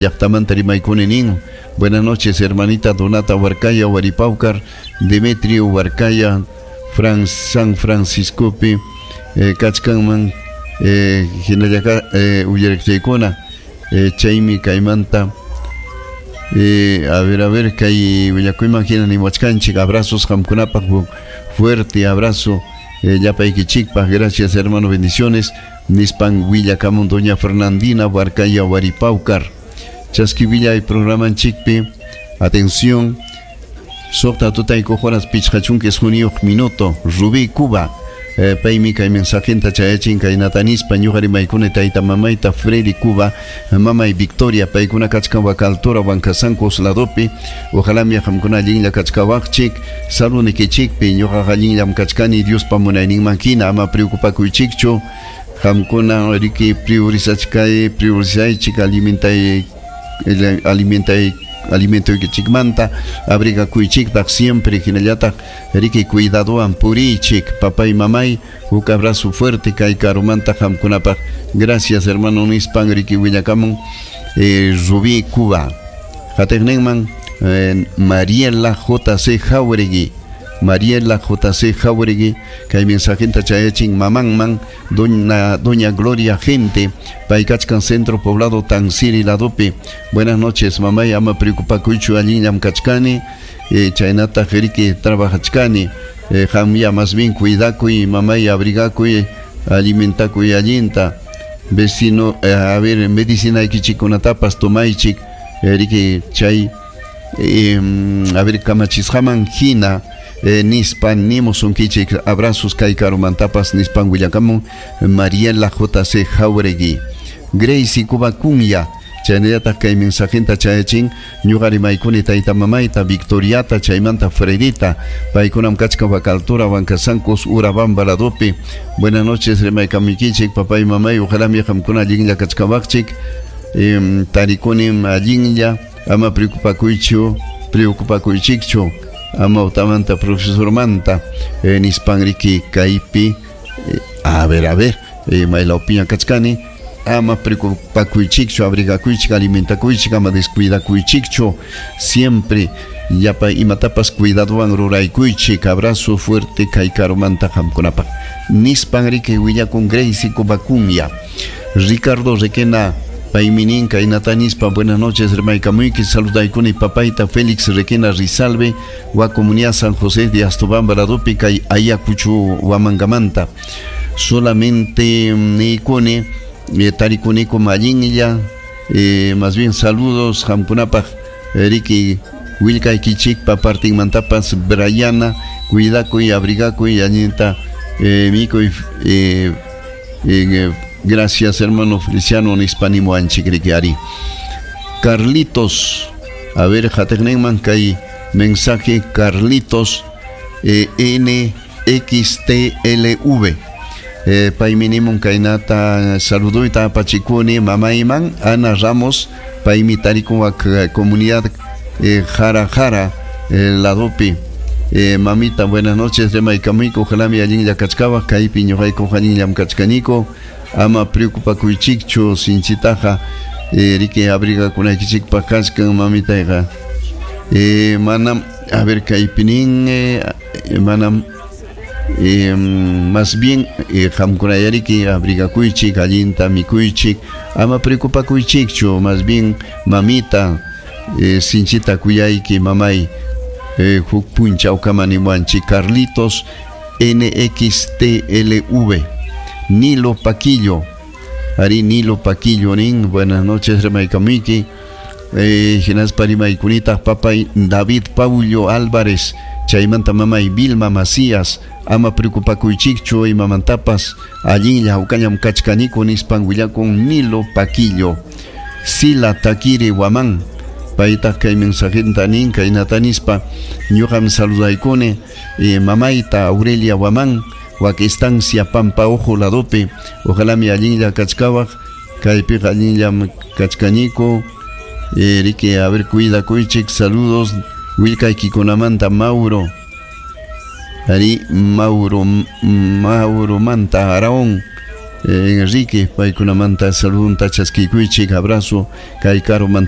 Llaqtamanta rimaykuni nin. Buenas noches, hermanita Donata Huarcaya, Huaripaucar, Demetrio Huarcaya, San Franciscopi, kachkanman, hinallaka uyariqchaykuna, chaymi kaymanta, a ver, kay willakuyman hina nimuwachkanchik, abrazos qamkunapaq, fuerte abrazo, llapaykichikpaq, gracias, hermano, bendiciones, nispan willakamun doña Fernandina Huarcaya Huaripaucar. Chaski programanchikpi, atención, 6 tutayku horas 51 minuto, Rubí Cuba, paymi kay mensajenta chayachin kaynata nispa: ñuqa rimaykuni tayta mamayta Freddy Cuba, mamay Victoria, paykuna kachkan Huacaltura Huancasancos ladopi, ojalá mi qamkuna allinlla kachkawaqchik, salunikichikpi, ñuqaqa allinllam kachkani Diospa munayninman hina, ama preocupakuychikchu, qamkuna riki priorizachkay, priorizaychik alimentay alimentay alimentoykichikmanta, abrigakuychiktaq siempre, hinallataq riki cuidadowan puriychik, papay, mamay, huk abrazo fuerte kay karumanta qamkunapaq, gracias, hermano, nispan riki willakamun Rubí Cuba. Qatiqninman Mariela JC Jauregui, Mariela JC Jauregui, kay mensajenta chayachin mamanman, doña Gloria Gente, pay kachkan Centro Poblado Tansiri ladopi. Buenas noches, mamay, ama preocupakuychu, allinllam kachkani, chaynataq riki trabajachkani, qamya más bien cuidakuy, mamay, abrigakuy, alimentakuy allinta, vecino, a ver, medicinaykichikkunatapas tomaychik, riki chay, a ver, kamachisqaman hina, nispan nimusunkichik, abrazos kay karumantapas nispan willakamun Mariela JC Jauregui. Gracie Cubacunya, chaynallataq kay mensajenta chayachin: ñuqa rimaykuni tayta mamayta Victoriata chaymanta Fredita, paykunam kachkan Huacaltura Huancasancos Urabamba ladopi. Buenas noches, rimaykamuykichin papay, mamay, ojalá mi qamkuna allinlla kachkawaqchik, tarikunim allinlla, ama preocupakuychu, preocupakuychikchu amawtamanta profesormanta, nispan riki kaypi, a ver, maylawpiña kachkani, ama preocupakuychikchu, abrigakuychik, alimentakuychik, ama descuidakuychikchu, siempre llapa imatapas cuidadowan ruraykuychik, abrazo fuerte kay karumanta qamkunapaq, nispan riki willakun Gracie Cubacunya. Ricardo Requena, paymi nin kaynata nispa: buenas noches, rimaykamuyki, saludaykuni papayta Félix Requena Rizalve, wa comunidad San José de Astobamba ladopi kay Ayacucho Huamangamanta, solamente niykuni, tarikuniku allinlla, más bien saludos qamkunapaq, riki willkaykichikpa partinmantapas Briana, cuidakuy, abrigakuy, allinta mikuy, gracias, hermano Feliciano, nispa nimuwanchik riki ari. Carlitos, a ver, qatiqninman kay mensaje Carlitos NXTLV. Paymi nimun kaynata: saluduyta apachikuni mamayman Ana Ramos, paymi tarikun wak comunidad Jara Jara ladopi. Mamita, buenas noches, rimaykamuyku, ojalá mi allinlla kachkawaq, kaypi ñuqayku allinllam kachkaniku, ama preocupakuychikchu sinchitaqa, riki abrigakunaykichikpaq kachkan mamitayqa, manam, a ver, kaypi nin, manam, más bien qamkunayariki abrigakuychik, allinta mikuychik, ama preocupakuychikchu, más bien mamita, sinchita kuyayki mamay, huk punchawkama niwanchik Carlitos NXTLV. Nilo Paquillo, Ari Nilo Paquillo nin: buenas noches, rimaykamuyki, hinaspa rimaykunitaq papay David Paullo Álvarez chaymanta mamay Vilma Macías, ama preocupakuychikchu imamantapas, allinlla hawkallam kachkaniku, nispan willakun Nilo Paquillo. Sila Taquiri Huamán, paytaq kay mensajenta nin kaynata nispa: ñuqam saludaykuni mamayta Aurelia Huamán, wak estancia Pampa Ojo ladopi, ojalá mi allinlla kachkawaq, kaypiqa allinllam kachkaniku, riki a ver, cuidakuychik, saludos willkaykikunamanta Mauro, ari Mauro, Mauro manta Araón. Enrique, paykunamanta saludunta chaskikuychik, abrazo kay karumanta.